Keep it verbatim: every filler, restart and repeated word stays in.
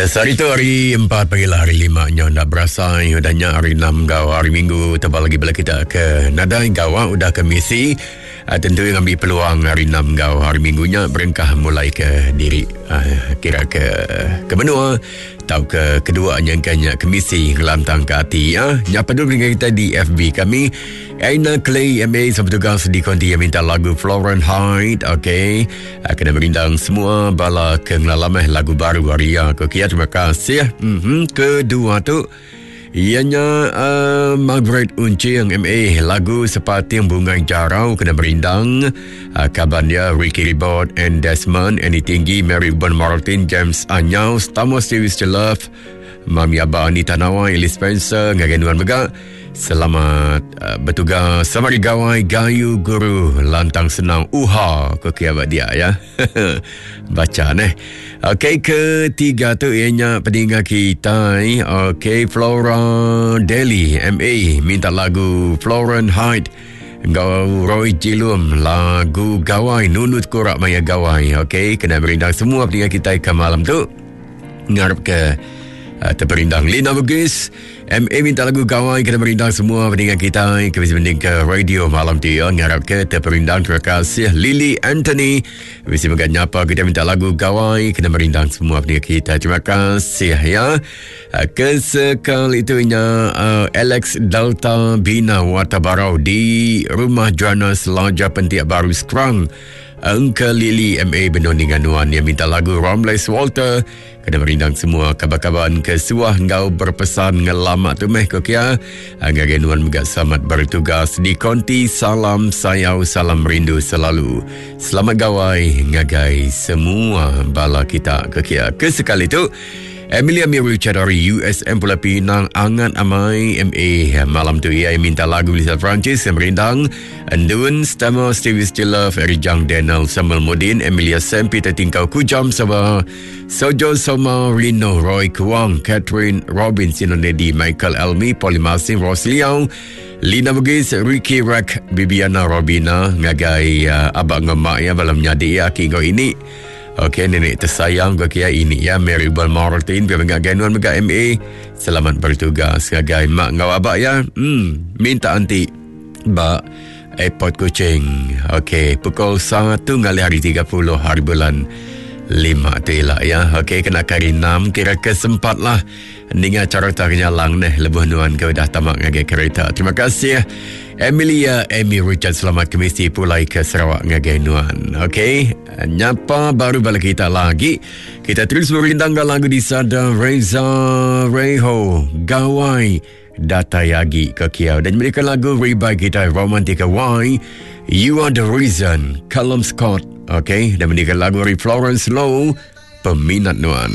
Yes, hari tu hari empat pagi lah hari lima nya nda berasai udah nya hari enam gau hari minggu tebal lagi bela kita ke nadai gawa udah ke misi. Uh, tentu ngambil peluang hari enam gau hari minggu nya berengkah mulai ke diri uh, kira ke ke menua atau ke kedua nyangkanya ke misi ngelantang ke ati ya. Nyapa dulu dengan kita di F B kami Aina Clay M A sebertugas di konti yang minta lagu Florence Hyde. Okey, uh, kena merindang semua bala ke ngelalameh lagu baru hari ya. Okey, terima kasih. Mm-hmm. Kedua tu ianya uh, Margaret Uncing M A lagu Sepating Bunga Jarau kena merindang uh, kaban dia Ricky Ribot and Desmond Annie Tinggi Mary Urban Martin James Anyau Thomas Davis to Love Mami Abah Anita Nawai Elise Spencer ngagai nuan mega. Selamat uh, bertugas selamat gawai gayu guru lantang senang uha ke kiabat dia ya. Baca neh. Okey, ketiga tu ianya peninggal kita. Okey, Flora Deli M A minta lagu Florence Hyde Gau Roy Jilum lagu Gawai Nunut Korak Maya Gawai. Okey, kena merindang semua peninggal kita ke malam tu. Ngarap ke Uh, terperindang Lina Bugis M A minta lagu Gawai kena merindang semua pendengar kita ke bisa mending ke radio malam tu ya. Ngarap ke terperindang. Terima kasih Lily Anthony bisa megat nyapa kita minta lagu Gawai kena merindang semua pendengar kita. Terima kasih ya. Uh, kesekali itunya uh, Alex Delta Bina Watabarau di Rumah Joanna Selaja Pentiak Baru Sekerang. Uncle Lily M A Benon dengan Nuan yang minta lagu Romles Walter kena merindang semua kabar-kabar ke suah ngau berpesan ngelamak tu meh kokia ngagai Nuan juga selamat bertugas di konti. Salam sayau salam rindu selalu. Selamat gawai ngagai semua bala kita kokia. Kesekali tu Emilia Mary dari U S M Pulau Pinang Angat Amai M A malam tu ia minta lagu Lisa Francis yang merindang Endun Stama Stevie Stiller Ferry Jang Daniel Samuel Mudin Emilia Sam Peter Tingkau Kujam sama Sojo Soma Rino Roy Kuang Catherine Robin Sinonedi Michael Elmi Polymasin Ross Liao Lina Bugis Ricky Rack Bibiana Robina ngagai uh, abang ngemak ya malam nyadi ya kinggo ini. Okey, nenek tersayang ke kia ini ya Mary Bell Martin biar mengagai nuan mega M A. Selamat bertugas ngagai mak ngau abak ya. Hmm, minta anti ba airport Kuching. Okey, pukul satu ngalih hari tiga puluh hari bulan lima tu elak ya. Okey, kena kari enam kira kesempat lah. Ninga cara ternyalang neh lebuh nuan ke dah tamak ngagai kereta. Terima kasih Emilia Amy Richard selamat kemisi pulai ke Sarawak ngagai nuan. Okey, nyapa baru balik kita lagi. Kita terus merindang lagu di Sada Reza Reho Gawai Datai Agi ke Kiau dan mereka lagu Rebai kita Romantika Y You Are The Reason Callum Scott. Okey, dan mereka lagu dari Florence Low Peminat Nuan.